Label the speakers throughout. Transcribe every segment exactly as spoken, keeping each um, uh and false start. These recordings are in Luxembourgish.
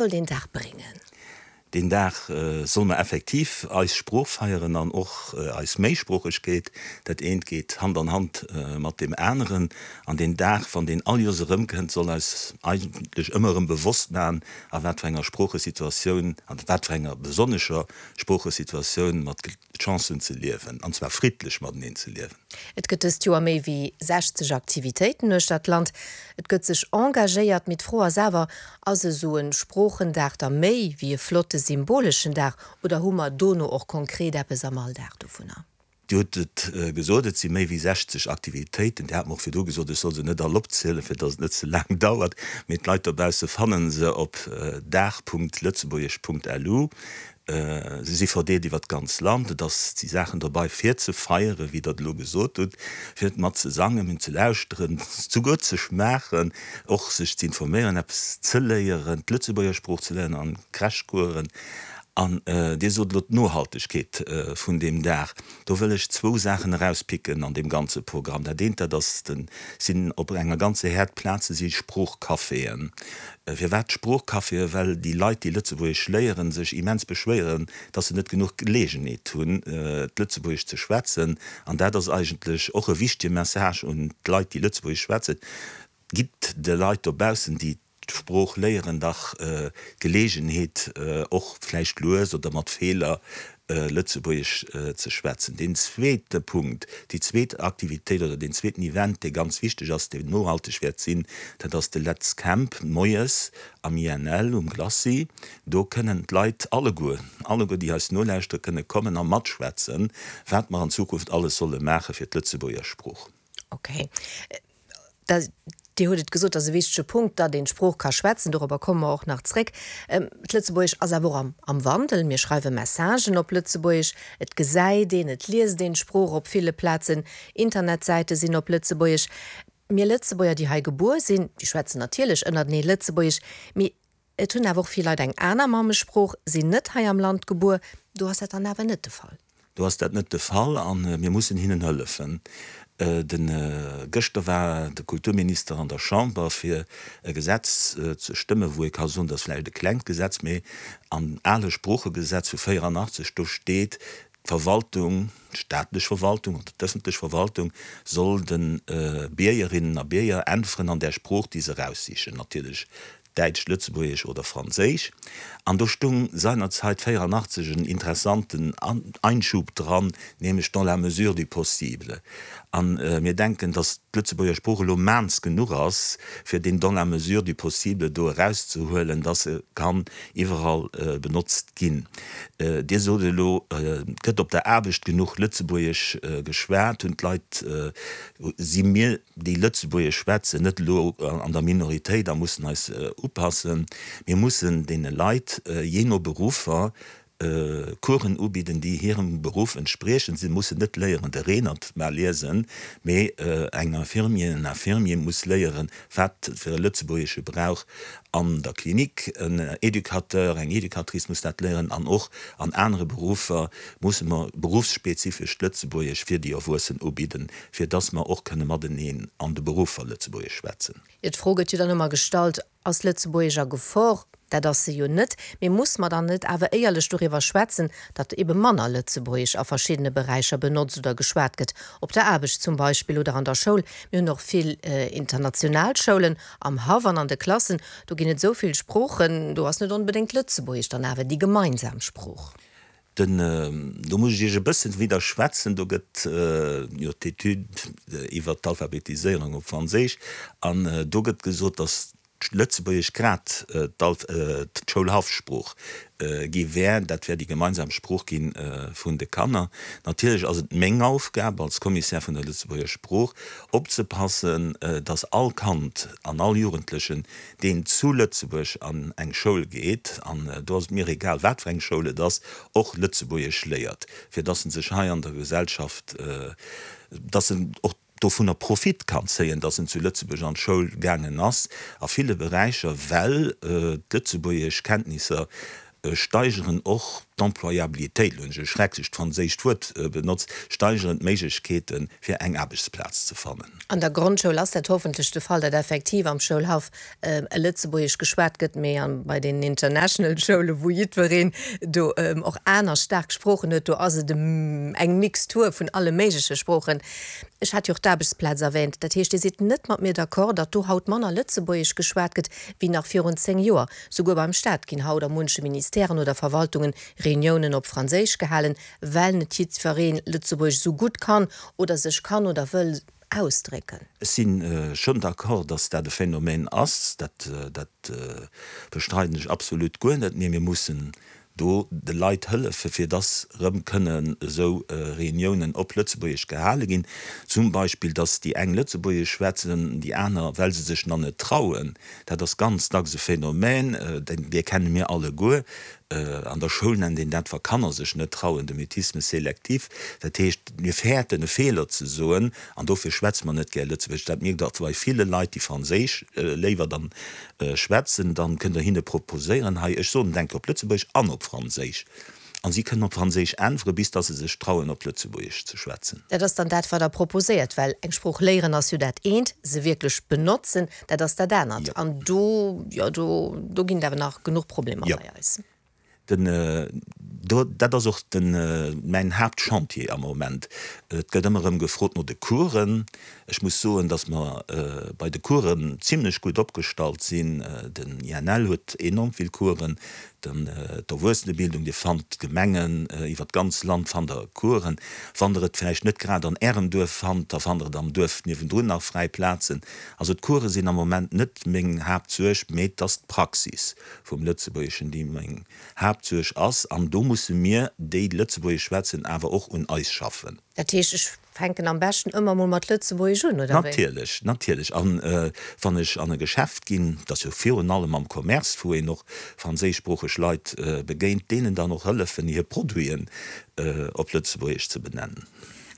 Speaker 1: soll deen Dag bréngen?
Speaker 2: Deen Dag solle mer effektiv eis Sprooch feieren an och eis Méisproochegkeet. Dat eent geet Hand an Hand mat deem aneren. An deen Dag, wann deen all Joers erëmkënnt, soll eis eigentlech ëmmer erëm bewosst maachen, a wat fir enger Sproochesituatioun, a wat fir enger besonnescher Sproochesituatioun mer d'Chance hunn ze liewen, an zwar friddlech mateneen ze liewen.
Speaker 1: Et gëtt dëst Joer méi wéi sechzeg Aktivitéiten uechter d'Land. Et gëtt sech engagéiert, mee d'Fro ass awer, Ass esou e Sproochendag da méi wéi e flotte symboleschen Dag oder hu mer dono och konkret eppes am Alldag dovunner?
Speaker 2: Dir hutt et gesot, et si méi wéi sechzeg Aktivitéiten. Dir hat mer och virdru gesot, ech soll se net all opzielen, fir datt et net ze laang dauert. Mee d'Leit dobausse fanne se op dag Punkt lëtzebuergesch Punkt lu. Se si verdeelt iwwer d'ganz Land. Et ass, et si Saachen dobei fir ze feieren, wéi Der et elo gesot hutt, fir mat ze sangen, min ze lauschteren, souguer ze schmaachen, och sech ze informéieren, eppes ze léieren, d'Lëtzebuerger Sprooch ze léieren an Crashcoursen. An Dir sot elo d'Nohaltegkeet vun deem Dag. Do wëll ech zwou Saachen erauspicken an deem ganze Programm. Dat eent, dat ass den, sinn op enger ganzer Häerd Plaze si Sproochcaféen. Firwat Sproochcaféen? Well déi Leit, déi Lëtzebuergesch léieren, sech immens beschwéieren, dass se net genuch Geleegenheet hunn, d'Lëtzebuergesch ze schwätzen. An dat ass eigentlech och e wichtege Message un d'Leit, déi Lëtzebuergesch schwätzen, Gitt de Leit dobaussen, déi d'Sprooch léieren, dach d'Geleegenheet, och vläicht lues oder mat Feeler, Lëtzebuergesch ze schwätzen. Deen zweete Punkt, déi zweet Aktivitéit oder deen zweeten Event, dee ganz wichteg ass, deen nohalteg wäert sinn, dat ass de Let's Camp moies am I N L um Glacis. Do kënnen d'Leit alleguer, alleguer déi eis nolauschteren, kënne kommen a matschwätzen, wat mer an Zukunft alles solle maache fir d'Lëtzebuerger Sprooch.
Speaker 1: Okay. Da, Dir hutt et gesot, dat ass e wichtege Punkt, datt een d'Sprooch ka schwätzen. Dorobber komme mer och nach zréck. D'Lëtzebuergesch ass awer och am, am Wandel. Mir schreiwe Messagen op Lëtzebuergesch. Et gesäit een, et liest een d'Sprooch op ville Plazen. Internetsäite sinn op Lëtzebuergesch. Mir Lëtzebuerger, déi hei gebuer sinn, déi schwätzen natierlech ënnertenee Lëtzebuergesch. Mee et hunn awer och vill Leit eng aner Mammesprooch, sinn net hei am Land gebuer. Do ass dat dann awer net de Fall.
Speaker 2: Do ass dat net de Fall a mir mussen hinnen hëllefen. De gëschter war de Kulturminister an der Chamber fir e Gesetz ze stëmmen, wou ee ka soen, dat ass vläicht e klengt Gesetz, mee am ale Sproochegesetz vu véierannachtzeg do steet, d'Verwaltung, d'staatlech Verwaltung oder d'ëffentlech Verwaltung soll de Biergerinnen a Bierger äntweren an där Sprooch, déi se eraussichen, natierlech Däitsch, Lëtzebuergesch oder Franséisch. An do stung seinerzeit véierannachtzeg en interessanten Einschub dran, nämlech dans la mesure du possible. A mir denken, datt d'Lëtzebuerger Sprooch elo maans genuch ass, fir deen dans la mesure du possible do erauszehuelen, datt se kann iwwerall benotzt ginn. Dir sot elo, et gëtt op der Aarbecht genuch Lëtzebuergesch geschwat. Hunn d'Leit, si mir, déi Lëtzebuergesch schwätzen, net elo an der Minoritéit a mussen eis upassen. Mir mussen deene Leit, jee no Beruffer, Coursen ubidden, déi hirem Beruff entspriechen. Si mussen net léieren, de Reenert mar liesen, mee eng Infirmier, en Infirmier muss léieren, wat fir e Lëtzebuergesche brauch an der Klinik. En Educateur, eng Educatrice muss dat léieren an och an anere Beruffer musse mer beruffsspezifescht Lëtzebuergesch fir déi Erwuessen ubidden, fir dass mer och kënne mateneen an de Beruffer Lëtzebuergesch schwätzen.
Speaker 1: Jo, d'Fro gëtt jo dann ëmmer gestallt, Ass Lëtzebuergesch a Gefor? Dat ass se jo net. Mee muss mer dann net awer éierlech doriwwer schwätzen, datt ebe manner Lëtzebuergesch a verschiddene Beräicher benotzt oder geschwat gëtt, op der Aarbecht zum Beispill oder an der Schoul? Mir hunn och vill international Schoulen am Haff an an de Klassen, do ginn et esou vill Sproochen, do ass net onbedéngt Lëtzebuergesch dann awer déi gemeinsam Sprooch.
Speaker 2: Den, do muss ech Iech e bëssen widderschwätzen, do gëtt jo d'Etüd iwwert d'Alphabetiséierung op Franséisch an do gëtt gesot, datt d'Lëtzebuergesch grad d'Schoulhaffsprooch gi wär. Dat wär déi gemeinsam Sprooch gi vun de Kanner. Natierlech ass et meng Aufgab als Kommissär vun der Lëtzebuerger Sprooch opzepassen, datt all Kand an all Jugendlechen, deen zu Lëtzebuerg an eng Schoul geet, an do ass et mir egal, wat fir eng Schoul et ass, och Lëtzebuergesch léiert, fir datt en sech hei an der Gesellschaft, datt en och dovunner Profit kann zéien, datt en zu Lëtzebuerg an d'Schoul gaangen ass, a ville Beräicher, well d'Lëtzebuergeschkenntnisser steigeren och d'Employabilitéit, elo hunn ech e schrecklecht franséischt Wuert benotzt, steigeren d'Méiglechkeeten, fir eng Aarbechtsplaz ze fannen.
Speaker 1: An der Grondschoul ass dat hoffentlech de Fall, datt effektiv am Schoulhaff Lëtzebuergesch geschwat gëtt, mee bei den International Schoulen, wou jiddwereen do och aner staark Sproochen huet, do ass et eng Mixtur vun alle méigleche Sproochen. Ech hat jo och d'Aarbechtsplaz erwähnt. Dat heescht, Dir sidd net mat mir d'accord, datt do haut manner Lëtzebuergesch geschwat gëtt wéi nach virun zéng Joer. Souguer beim Staat ginn haut a munche Ministèren oder Verwaltungen Reuniounen op Franséisch gehalen, well net jiddweree Lëtzebuergesch esou gutt kann oder sech kann oder wëll ausdrécken.
Speaker 2: Ech si schonn d'accord, datt dat e Phänomen ass. Dat, dat bestreiden ech absolut guer net. Mee mir mussen do de Leit hëllefen, fir dass erëm kënnen esou Reuniounen op Lëtzebuergesch gehale ginn. Zum Beispill, dass déi eng Lëtzebuergesch schwätzen, déi aner, well se sech nach net trauen. Dat ass ganz dacks e Phänomen, dee kenne mir alleguer. An der Schoul nennt een dat, wa Kanner sech net trauen, de Mutisme sélectif. Dat heescht, mir fäerten e Feeler ze soen an dofir schwätze mer net gär Lëtzebuergesch. Dat mierkt Der bei ville Leit, déi Franséisch léiwer dann schwätzen. Dann kënnt Der hinne proposéieren, hei, ech soen et eng Kéier op Lëtzebuergesch an op Franséisch. An si kënnen op Franséisch äntweren, bis dass se sech trauen, op Lëtzebuergesch ze schwätzen.
Speaker 1: Dat ass dann dat, wat Der proposéiert, well eng Sprooch léieren ass jo dat eent, se wierklech benotzen, dat ass dat anert. An do, jo, do, do ginn et awer nach genuch Problemer bei eis.
Speaker 2: Den, do, dat ass och den, mäin Haaptchantier am Moment. Et gëtt ëmmer erëm gefrot no de Coursen. Ech muss soen, datt mer bei de Coursen zimlech gutt opgestallt sinn. Den I N L huet enorm vill Coursen, dann d'Erwuessenebildung, Dir fannt d'Gemengen iwwer d'ganz Land fannt Der Coursen. Wann Der et vläicht net grad an Ärem Duerf fannt, da fannt Der et am Duerf niewendrun nach fräi Plazen. Also d'Course sinn am Moment net meng Haaptsuerg, mee et ass d'Praxis vum Lëtzebuergeschen, déi meng Haaptsuerg ass. An do musse mir, déi Lëtzebuergesch schwätzen, awer och un eis schaffen.
Speaker 1: Dat heescht, ech fänken am beschten ëmmer mol mat Lëtzebuergesch un, oder wéi?
Speaker 2: Natierlech, natierlech. An wann ech an e Geschäft ginn, dat ass jo virun allem am Commerce, wou een och franséischsproocheg Leit begéint, deenen dann och hëllefen, hir Produiten op Lëtzebuergesch ze benennen.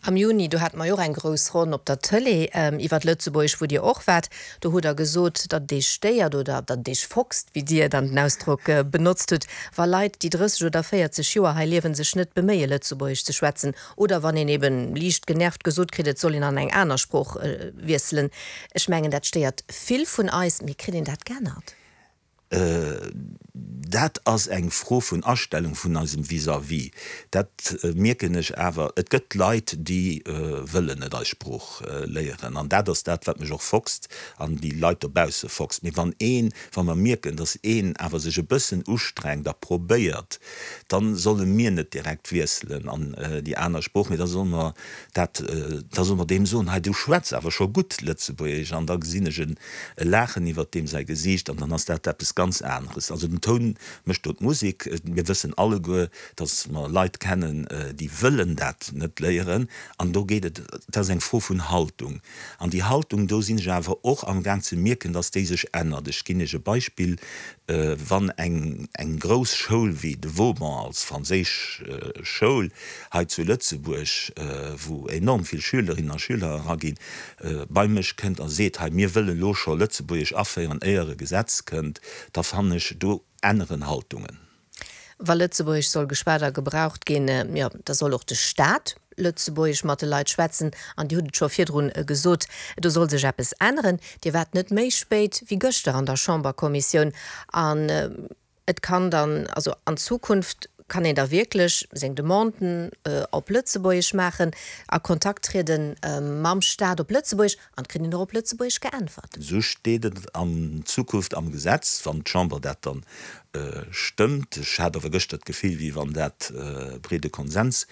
Speaker 1: Am Juni, do hate mer jo och eng grouss Ronn op der Tëlee iwwer Lëtzebuergesch, wou Dir och waart. Do hutt Der gesot, datt et Iech stéiert oder datt et Iech foxt, wéi Dir dann den Ausdrock benotzt hutt, wa Leit, déi drësseg oder véierzeg Joer hei liewen, sech net beméie Lëtzebuergesch ze schwätzen oder wann een eben liicht genervt gesot kritt, et soll een an eng aner Sprooch wiesselen. Ech mengen, dat stéiert vill vun eis. Mee kritt een dat geännert?
Speaker 2: Dat ass eng Fro vun Astellung vun eisem Vis-à-vis. Dat mierken ech awer. Et gëtt Leit, déi wëllen net eis Sprooch léieren. An dat ass dat, wat mech och foxt an déi Leit dobausse foxt. Mee wann een, wa mer mierken, datt een awer sech e bëssen ustrengt a probéiert, da solle mir net direkt wiesselen an déi aner Sprooch, mee da solle mer dat, da solle mer deem soen, hei du schwätz awer scho gutt Lëtzebuergesch. An da gesinn ech e Laachen iwwert deem säi Gesiicht an dann ass dat eppes ganz aneres. Also den Toun mécht do d'Musek. Mir wëssen alleguer, datt mer Leit kennen, déi wëllen dat net léieren. An do geet et, dat ass eng Fro vun Haltung. An déi Haltung, do sinn ech awer och amgaang ze mierken, datt déi sech ännert. Ech ginn Iech e Beispill, Wann eng eng grouss Schoul wéi de Vauban als franséisch Schoul hei zu Lëtzebuerg, wou enorm vill Schülerinnen a Schüler eraginn, bei mech kënnt a seet, hei mir wëllen elo scho Lëtzebuergesch aféieren, éier e Gesetz kënnt, da fannen ech, do änneren Haltungen.
Speaker 1: Wa Lëtzebuergesch soll geschwat a gebraucht ginn, jo, da soll och de Staat Lëtzebuergesch mat de Leit schwätzen. An Dir hutt et scho virdrun gesot, do soll sech eppes änneren. Dir waart net méi spéit wéi gëschter an der Chamberkommissioun. An et kann dann, also an Zukunft kann een da wierklech seng Demanden op Lëtzebuergesch maachen, a Kontakt triede mam Staat op Lëtzebuergesch an et kritt een och op Lëtzebuergesch geäntwert.
Speaker 2: Esou steet et an Zukunft am Gesetz, wann d'Chamber dat dann stëmmt. Ech hat awer gëschter d'Gefill, wéi wann dat breede Konsens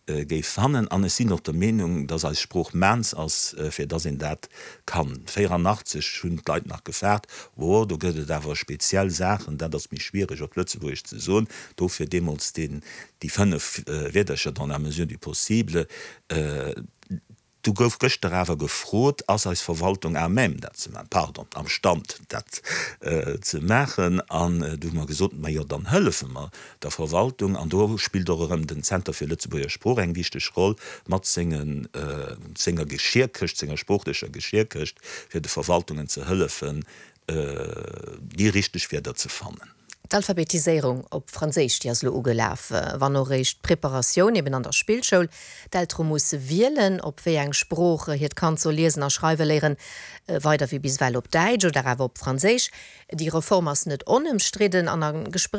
Speaker 2: géif fannen. An ech sinn och der Meenung, dass eis Sprooch maans ass, fir dass een dat kann. véierannachtzeg hunn d'Leit nach gefaart, Oh, do gëtt et awer speziell Saachen, dat ass méi schwiereg op Lëtzebuergesch ze soen. Dofir deemools deen, déi fënnef Wierdercher dans la mesure du possible. Du gouf gëschter awer gefrot, Ass eis Verwaltung à même dat ze maachen, pardon, am Stand dat ze maachen? An du hu mer gesot, Majo, dann hëllefe mer der Verwaltung. An do spillt och erëm den Zenter fir Lëtzebuerger Sprooch eng wichteg Roll mat sengen, senger Geschierkëscht, senger sproochlecher Geschierkëscht, fir de Verwaltungen ze hëllefen, déi richteg Wierder ze fannen.
Speaker 1: D'Alphabetiséierung op Franséisch, déi ass elo ugelaf, wann och eréischt d'Preparatioun eben an der Spillschoul. D'Eltere musse wielen, op wéi eng Sprooch hiert Kand soll liesen a schreiwe léieren, weider wéi bis ewell op Däitsch oder awer op Franséisch. Déi Reform ass net onëmstridden an a Gespréicher.